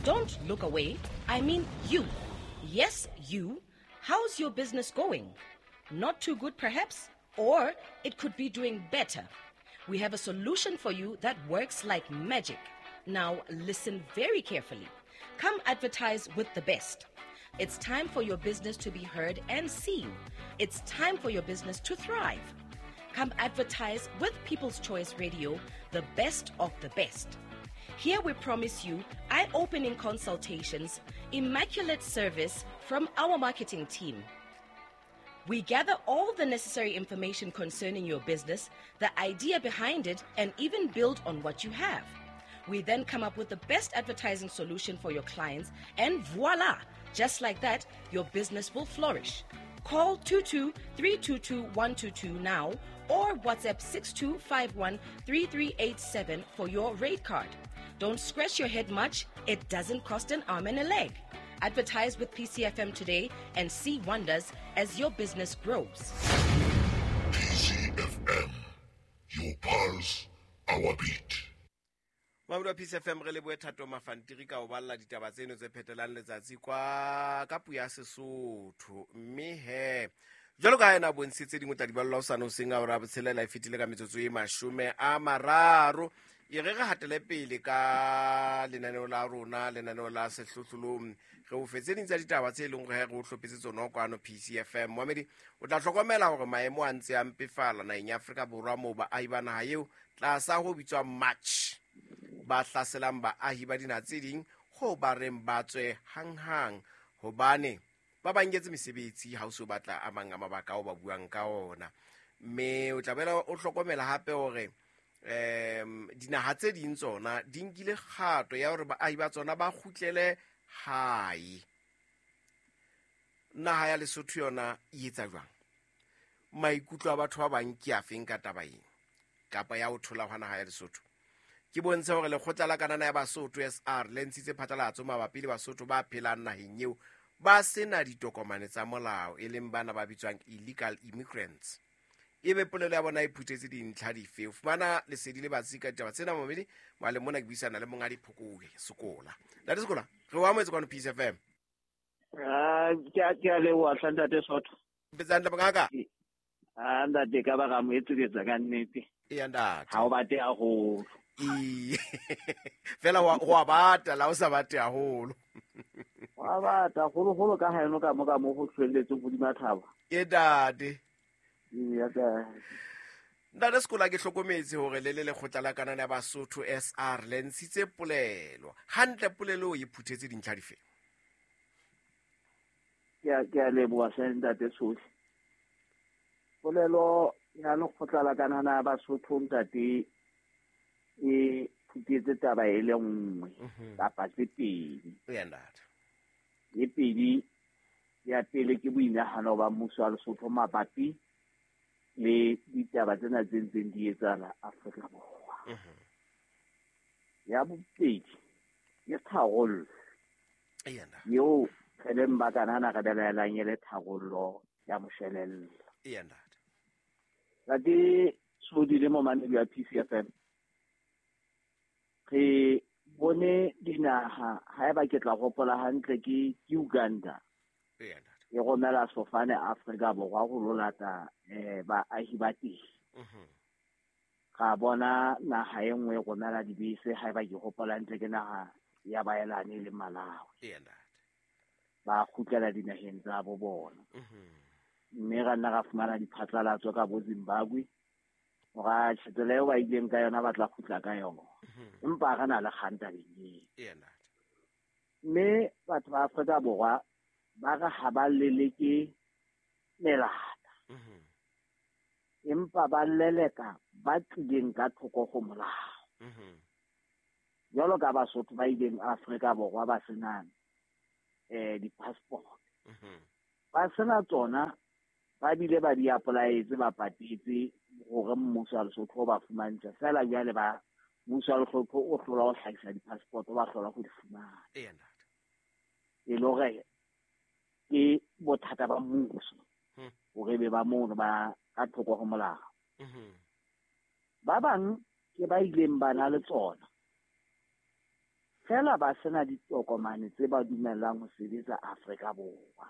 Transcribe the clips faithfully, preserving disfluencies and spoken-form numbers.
Don't look away. I mean you. Yes, you. How's your business going? Not too good, perhaps? Or it could be doing better. We have a solution for you that works like magic. Now, listen very carefully. Come advertise with the best. It's time for your business to be heard and seen. It's time for your business to thrive. Come advertise with People's Choice Radio, the best of the best. Here we promise you eye opening consultations, immaculate service from our marketing team. We gather all the necessary information concerning your business, the idea behind it, and even build on what you have. We then come up with the best advertising solution for your clients, and voila! Just like that, your business will flourish. Call two two three two two one two two now or WhatsApp six two five one three three eight seven for your rate card. Don't scratch your head much, it doesn't cost an arm and a leg. Advertise with P C F M today and see wonders as your business grows. P C F M, your pulse, our beat. Mabudu P C F M re lebohe Thato Mafantiri ka ho balla ditaba tseno tse phetelang letsatsi kwa ka puo ya Sesotho. Mme he jwalo ka ha ena bontshitse dingwe tsa diballwa ho sane hoseng a hora botshelela e fetile ka metsotso e mashome a mararo. E re re hatele pele ka lenaneo la rona, lenaneo la sehlohlolong. Re o fetse ding tsa ditaba tse leng hore re o hlophetse tsona kwano P C F M. Moamedi, o tla hlokomela hore maemo a ntse a mpefala naheng ya Afrika Borwa moo baahi ba naha eo tlasa ho bitswang March ba hlaselang baahi ba dinaha tse ding ho ba reng ba tswe hanghang hobane ba ba nketse mesebetsi ha o so batla a mang a mabaka ao ba buang ka ona. Mme o tla boela o hlokomela hape hore um dinaha tse ding tsona di nkile kgato ya hore baahi ba tsona ba kgutlele hae. Naha ya Lesotho yona e etsa jwang? Maikutlo a batho ba bang ke afeng ka taba ena kapa ya ho thola hwa naha ya Lesotho? Ke bontshe hore lekgotla la kanana ya Basotho S R le ntshitse phatlalatso mabapi le Basotho ba phelang naheng eo ba sena ditokomane tsa molao, e leng bana ba bitswang illegal immigrants. Ebe polelo ya bona e phuthetse dintlha dife? O fumana lesedi le batsi ka ditaba tsena momedi mohaleng mona ke buisana le monghadi Phokowe Sekola. Ntate Sekola, re o amohetse kwano P C F M. Ah, ke a ke a leboha hle ntate Sotho. Mpetsa hantle mongaka? Ah, ntate ka ba ra mo etsetsa ka nnete. Eya ntate. Ha o bate haholo. Ee. Fela wa wa bata la o sa bate haholo. Wa bata holo-holo ka haeno ka mo ka mo ho hlwelletseng hodima thaba. Ke ntate. Eya ka. Ntate Sekola, ke hlokometse hore le le lekgotla la kanana ya Basotho S R le ntshitse polelo. Hantle polelo e phuthetse dintlha dife? Ke a ke a leboha hle ntate Sohle. Polelo ya lekgotla la kanana ya Basotho ntate e phuthetse taba e le nngwe kapa tse pedi. Eya ntate. E pedi ya pele ke boinahano ba mmuso wa Lesotho mabapi le ditaba tsena tse ntseng di etsahala Afrika Borwa. Ya bobedi ke tharollo Eya ntate. eo re leng ba kanana re belaelang e le tharollo ya moshwelella. Eya ntate. Ntate Sodi le momamedi wa P C F M, re bone dinaha, haeba ke tla hopola hantle ke ke Uganda. Eya ntate. E romela sefofane Afrika Borwa ho lo lata eh baahi ba teng. Ra bona naha e nngwe e romela dibese, haeba ke hopola hantle ke naha ya Baelane le Malawi. Eya ntate. Ba kgutlela dinaheng tsa bo bona. Mme ra nna ra fumana diphatlalatso ka bo Zimbabwe hore tsela eo ba ileng ka yona ba tla kgutla ka yona. Empa re na le kgang tabeng eo. Eya ntate. Mme batho ba Afrika Borwa ba re ha ba leleke melata. Empa ba leleka ba tlileng ka thoko ho molao. Jwalo ka Basotho ba ileng Afrika Borwa ba sena eh di-passport. Ba sena tsona, ba bile ba di apply-etse, ba patetse hore mmuso wa Lesotho o ba fumantshe. Feela jwale ba mmuso wa Lesotho o hlola ho hlahisa di-passport, ba hlola ho di fumana. Eya ntate. E le hore ke bothata ba mmuso hore be ba mono ba ka thoko ho molao. Ba bang ke ba ileng ba na le tsona. Fela ba sena ditokomane tse ba dumellang ho sebetsa Afrika Borwa.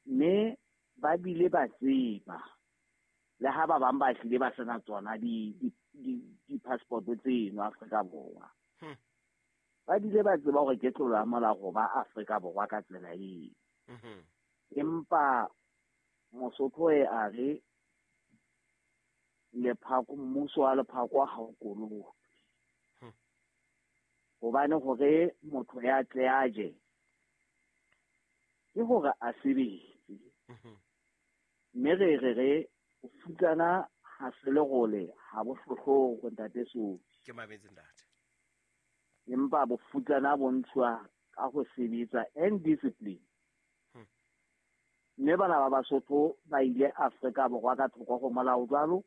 Mme ba bile ba tseba le ha ba bang ba hlile ba sena tsona di di di-passport tseno Afrika Borwa. Ba bile ba tseba hore ke tlolo ya molao ho ba Afrika Borwa ka tsela eo. Empa Mosotho e a re lephako mmuso wa lephako ha o kolobe. Hobane hore motho ya tle a je ke hore a sebetse. Mme re re re o futsana ha se lerole ha bo hlohloko ntate Sofi. Ke mametse ntate. Empa bofutsana bo ntshwa ka ho sebetsa and discipline. Mme bana ba Basotho ba ile Afrika Borwa ka thoko ho molao jwalo,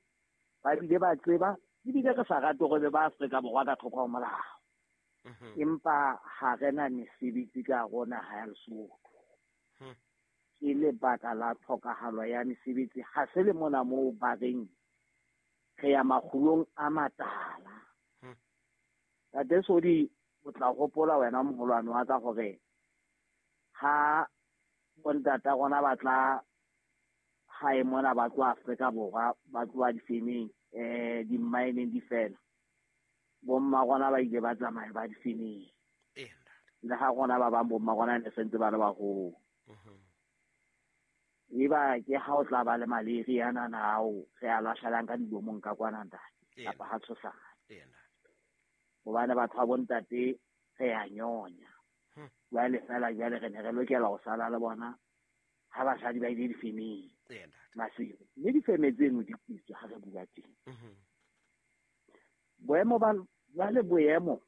ba bile ba tseba ebile re sa rate hore ba Afrika Borwa ka thoko ho molao. Empa ha re na mesebetsi ka rona ha ya Lesotho. Ke lebaka la tlhokahalo ya mesebetsi ha se le mona moo ba reng re ya makgulong a matala. Ntate Sodi o tla hopola wena moholwane wa ka hore ha bontata rona ba tla hae mona ba tloha Afrika Borwa ba tloha difemeng eh di-mineng di fela. Bomma rona ba ile ba tsamaya ba difemeng. Le ha rona ba bang bomma rona ne sentse ba le baholo. Eba ke ha o tla ba le malaria nana ao re a lahlelang ka dilomong ka kwana ntate kapa ha tshosane. Hobane batho ba bontate re a nyonya. Jwale fela jwale re ne re lokela ho sala le bona ha basadi ba ile difemeng. Masiu. Mme difeme tseno di kwetswe ha re bua teng. Boemo ba jwale boemo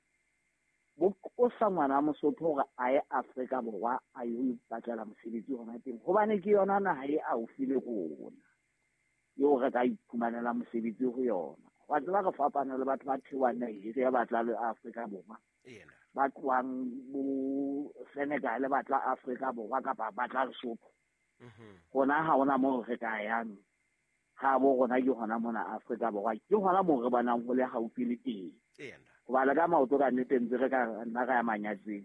bo qosa ngwana Mosotho hore a ye Afrika Borwa a yo ipatlela mosebetsi hona teng hobane ke yona naha e haufi le rona eo re ka iphumanela mosebetsi ho yona. Wa tseba re fapana le batho ba theohang Nigeria ba tla le Afrika Borwa. Ba tlohang bo Senegal ba tla Afrika Borwa kapa ba tla Lesotho. Rona ha hona moo re ka yang. Ha bo rona ke hona mona Afrika Borwa ke hona moo re bonang ho le haufi le teng. Hobane ka maoto ka nnete ntse re ka nna ra ya manyatseng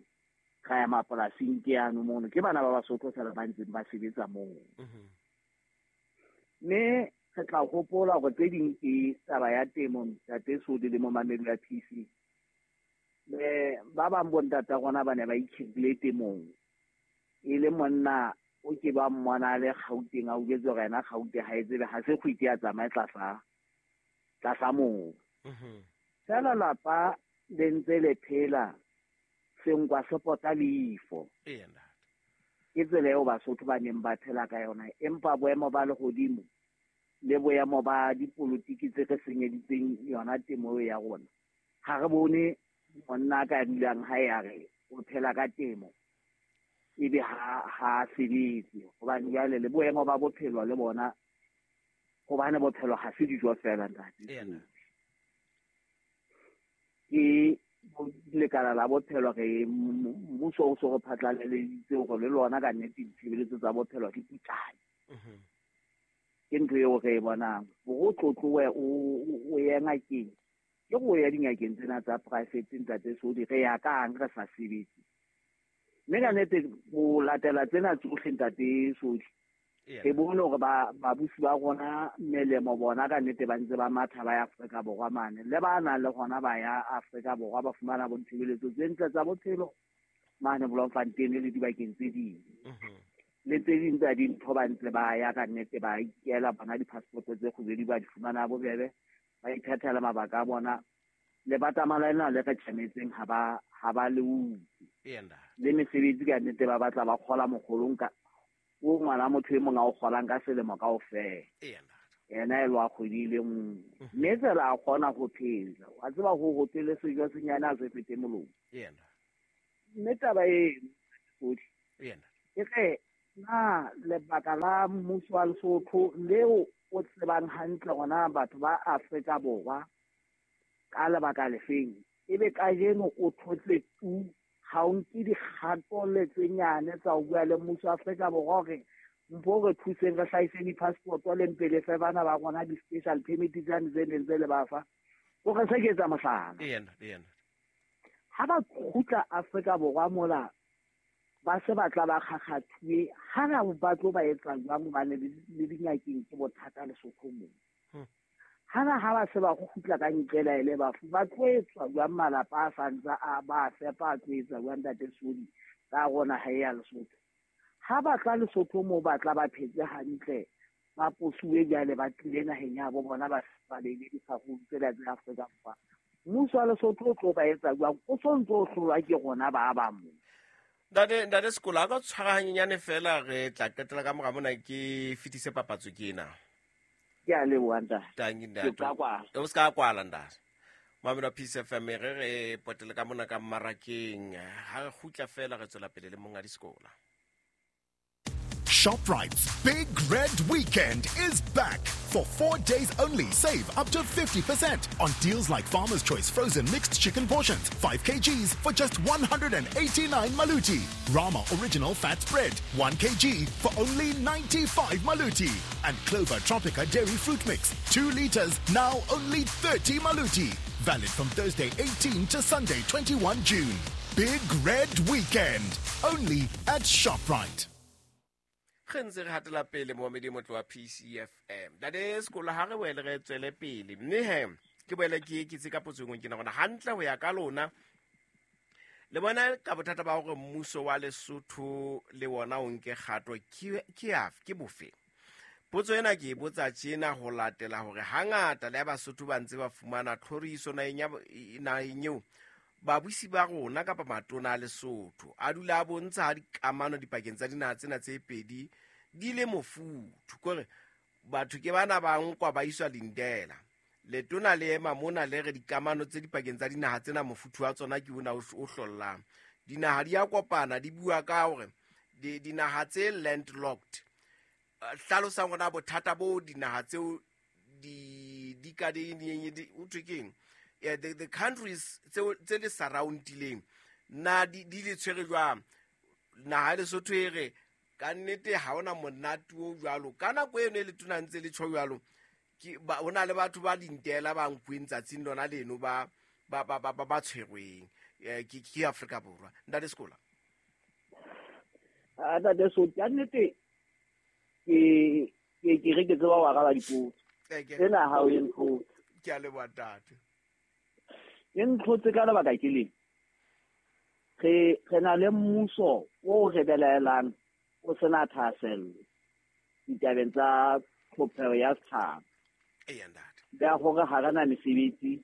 ra ya mapolasing ke yano mono ke bana ba Basotho fela ba ntseng ba sebetsa moo. Mme re tla hopola hore tse ding ke taba ya temo ntate Sodi le momamedi wa P C. Le ba bang bontata rona ba ne ba ikhirile temong e le monna o ke ba mmona le Gauteng a utlwetse hore yena Gauteng ha e tsebe ha se kgwiti ya tsamaye tlasa tlasa moo. Fela lapa le ntse le phela senkwa se pota leifo. Ke tsela eo Basotho ba neng ba phela ka yona empa boemo ba lehodimo le boemo ba dipolotiki tse re senyeditseng yona temo ya rona ha re bone monna ka dulang ha ya re o phela ka temo ebe ha ha sebetse hobane jwale le boemo ba bophelo le bona hobane bophelo ha se dijo fela ntate. Ke lekala la bophelo re mmuso o so re phatlalaleditse hore le lona ka nnete ditshebeletso tsa bophelo di putlame. Ke ntho eo re e bonang hore o tlotlowe o ye ngakeng ke go ya dingakeng tsena tsa private ntate Sodi re ya kang re sa sebetse. Mme ka nnete ho latela tsena tsohle ntate Sodi re bone hore ba babusi ba rona melemo bona ka nnete ba ntse ba matha ba ya Afrika Borwa mane le ba nang le hona ba ya Afrika Borwa ba fumana bo ditshebeletso tse ntle tsa bophelo mane Bloemfontein le dibakeng tse ding. Le tse ding tsa dintho ba ntse ba ya ka nnete ba ikela bona di-passport tse kgubedi ba di fumana bobebe ba iphethela mabaka a bona le batamala lena le re tjhametseng ha ba ha ba le utlwe. Le mesebetsi ka nnete ba batla ba kgola mokgolong ka o ngwana motho e mong a o kgolang ka selemo kaofela. Yena e lwa kgwedi e le nngwe. Mme tsela a kgona ho phela. Wa tseba ho hotele sejo senyane a se fete molomo. Mme taba e Sodi ke re na lebaka la mmuso wa Lesotho leo o tsebang hantle hona batho ba Afrika Borwa ka lebaka lefeng ebe kajeno o thotse tu ha o nke dikgato le tse nyane tsa ho bua le mmuso wa Afrika Borwa hore mpo re thuseng re hlahise di-passport le mpe le fe bana ba rona di-special permit tsane tse neng tse le ba fa. O re se ke etsa mohlala. Ha ba kgutla Afrika Borwa mola ba se ba tla ba kgakgathuwe, ha na ba tlo ba etsa jwang hobane le dingakeng ke bothata Lesotho moo. Hana ha ba se ba kgutla ka nqela ele bafu ba tlo etswa jwang malapa a santsa a ba fepa a tlo etsa jwang ntate Sodi ka rona ha ya Lesotho. Ha ba tla Lesotho moo ba tla ba phetse hantle ba posuwe jwale ba tlile naheng ya bo bona ba ba le difarung tsela tsa Afrika Borwa. Mmuso wa Lesotho o tlo ba etsa jwang o sontso o hlolwa ke rona ba ba mo. Ntate ntate Sekola a ka tshwara hanyenyane fela re tla qetela ka mora mona ke fetise papatso ke ena. Ke a leboha ntate. Tanki ntate. Ke tla kwala. O ska kwala ntate. Mamelo Peace F M re re potele ka mona ka mmarakeng ha re kgutla fela re tswela pele le monga Sekola. ShopRite's Big Red Weekend is back. For four days only, save up to fifty percent on deals like Farmer's Choice frozen mixed chicken portions, five kilograms for just one hundred eighty-nine maluti. Rama Original Fat Spread, one kilogram for only ninety-five maluti. And Clover Tropica Dairy Fruit Mix, two liters, now only thirty maluti. Valid from Thursday eighteenth to Sunday twenty-first June. Big Red Weekend, only at ShopRite. Re ntse re hatela pele momedi motlo wa P C F M. Ntate Sekola ha re boele re tswele pele. Mme he ke boele ke eketse ka potso e nngwe ke na gona hantle ho ya ka lona. Le bona ka bothata ba hore mmuso wa Lesotho le wona o nke kgato ke ke afe ke bofe. Potso ena ke e botsa tjena ho latela hore hangata le Basotho ba ntse ba fumana tlhoriso naheng ya naheng eo. Babusi ba rona kapa matona a Lesotho a dula a bontsha ha dikamano dipakeng tsa dinaha tsena tse pedi di le mofuthu. Kore batho ke bana ba nkwa ba iswa Lindela. Letona le ema mona le re dikamano tse dipakeng tsa dinaha tsena mofuthu wa tsona ke ona o hlollang. Dinaha di a kopana di bua ka hore dinaha tse landlocked hlalosang hona bothata bo dinaha tseo di di ka di o thwe keng? Yeah, the, the countries tse le surroundileng na di di le tshwere jwang naha Lesotho e re ka nnete ha ona monate o jwalo ka nako eno e le tona ntse le tjho jwalo ke hona le batho ba Lindela ba nkuweng tsatsing lona leno ba ba ba ba ba tshwerweng ke ke Afrika Borwa. Ntate Sekola. Ah ntate so ka nnete ke ke ke re ke tseba wa araba dipotso tsena ha o ntho ke a leboha ntate. E ntlhotse ka lebaka ke leng. Re re na le mmuso o re belaelang o sena thahasello ditabeng tsa tlhopheho ya setjhaba. Eya ntate. Ya hore ha re na mesebetsi,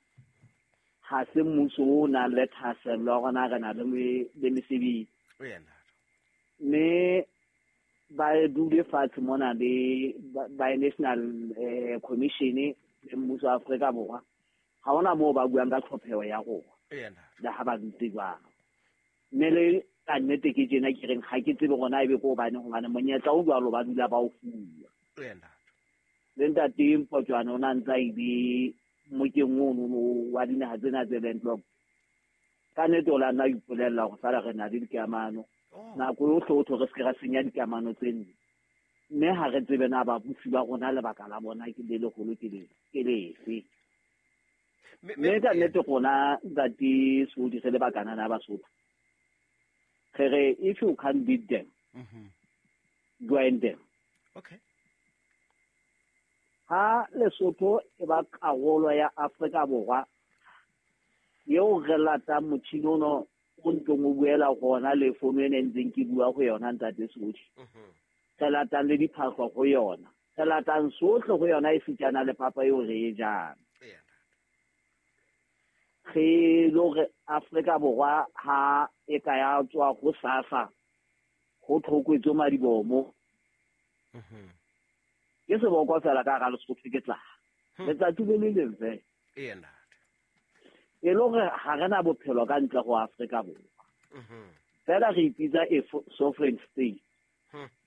ha se mmuso o nang le thahasello ya rona re na le le mesebetsi. Eya ntate. Mme ba dule fatshe mona le ba National eh, Commission le mmuso wa Afrika Borwa. Ha hona moo ba buang ka tlhopheho ya rona. Eya ntate. Le ha ba dutse jwang. Mme le ka nnete ke tjena ke reng ha ke tsebe rona ebe ko hobane hobane monyetla o jwalo ba dula ba o fuwa. Eya ntate. Le ntate Mpotjwane o na ntsa ile mokeng ono wa dinaha tsena tse landlocked. Ka nnete o la nna ipolella hore sala re na le dikamano. Nako yohle o tlo re se ra senya dikamano tseno. Mme ha re tsebe na babusi ba rona lebaka la bona ke le leholo ke le ke lefe. Mme ka nnete rona ntate Sodi re le bakana na Basotho. Re re if you can't beat them, mm-hmm. join them. Okay. Ha Lesotho e ba karolo ya Afrika Borwa eo re latang motjhini ono o ntlong o buela gona le fono ena e ntseng ke bua go yona ntate Sodi. Re latang le diphahlo go yona. Re latang sohle go yona e sitana le papa eo re e jang. Re lo re Afrika Borwa ha e ka ya tswa go SASSA go tlhokwetse madibomo. Mhm. Ke seboko fela ka ga Lesotho ke tla. Letsatsi le le leng fela. Eya ntate. E le hore ha re na bophelo ka ntle go Afrika Borwa. Mhm. Fela re ipitsa a sovereign state. Hmm.